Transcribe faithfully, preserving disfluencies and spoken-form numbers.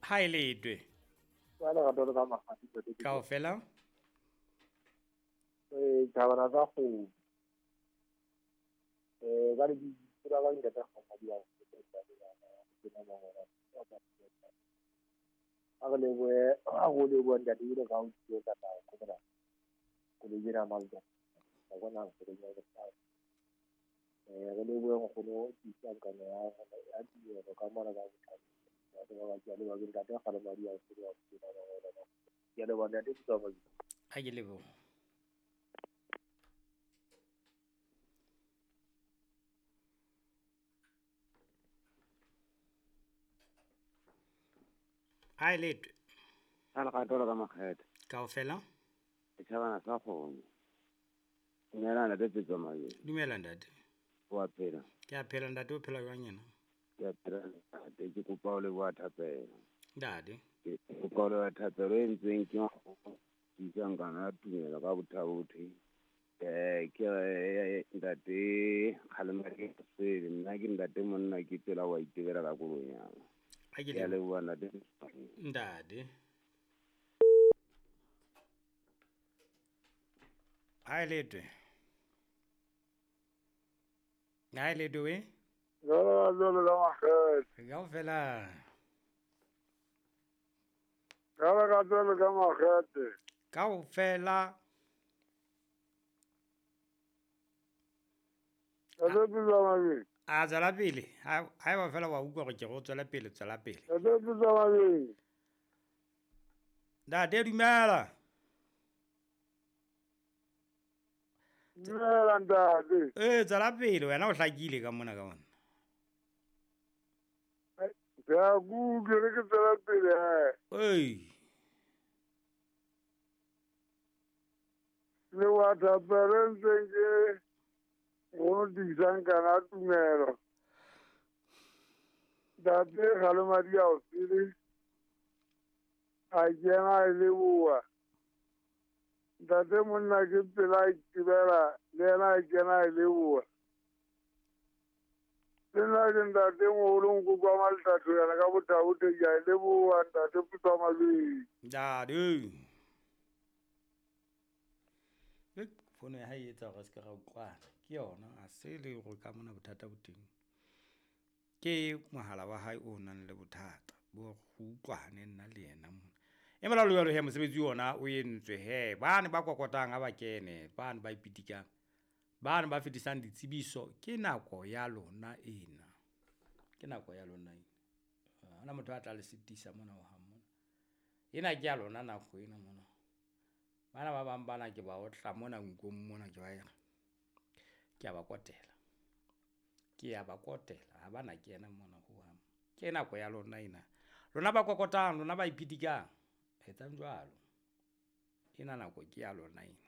Ha e letwe. Ba le rata ka makgati ntate. Kaofela. Eh thabana tsa kgomo. Eh ba le di tsela ba ntate kgomo di a a re lebohe a go leboha ntate ile ka o tšetsa ka go bona go le dira malta ga bona go le dira ka eh re lebohe nkgono tisa ka ya ya tiro ka mona ka bothata ba ba ke le ba ke ntate ga le madi a se ba ba ba ke le bona ntate tsa ba a ke lebohe. Ha e letwe. Ha le rata ka makgethe. Kaofela. Setjhabana sa kgomo. Dumela ntate Tsetsamai. Dumela ntate. Wa phela. Ke a phela ntate, o phela jwang yena? Ke a phela ntate, ke kopa o leboha thapelo. Ntate. Ke kopa o leboha thapelo e entsweng ke nkgono kana ya tumelo ka bothabothe. Eh ke ntate Kgalemadi Sele, nna ke ntate monna ke tsela wa itebela ka koloi ya ka. A ke Ke a leboha ntate. Ntate. Ha e letwe. Ha e letwe we? Jalo jalo ka makgethe. Kaofela. Jalo ka jalo ka makgethe. Kaofela. Ntate Tsetsamai. A tswela pele. Ha eba fela wa utlwa hore ke go tswela pele, tswela pele. Ntate Tsetsamai. Ntate dumela. Dumela ntate. Eh tswela pele wena o hlakile ka mona ka mona. Ke a kutlwe re ke tswela pele he. Ei. Le wa thapelo e ntseng ke go disang kana tumelo. Ntate Kgalemadi a o sele. A kena a e leboha. Ntate monna ke pela a itebela le yena a kena a e leboha. Le nna ke ntate moholo nkoko wa Maltatho yana ka bothabothe ke a e leboha ntate Putwa Ntate. Fono ya hae e etsa hore se ke ra utlwana. Ke yona a se le hore ka mona bothata bo teng. Ke mohala wa hae o nang le bothata bo go utlwane nna le yena mona. E mola jwalo he mosebetsi ona o entswe he bane ba kokotang ha ba kene, bane ba ipitikang, bane ba fetisang ditsebiso, ke nako ya lona ena. Ke nako ya lona ena. Ha hona motho a tla le sitisa mona ho hang mona. Ena ke ya lona nako ena mona. Bana ba bang bana ke ba otla mona nkong mona ke ba ere. Ke a ba kotela. Ke a ba kotela ha bana ke ena mona ho hang. Ke nako ya lona ena. Lona ba kokotang, lona ba ipitikang. Etsang jwalo. Ena nako ke ya lona ena.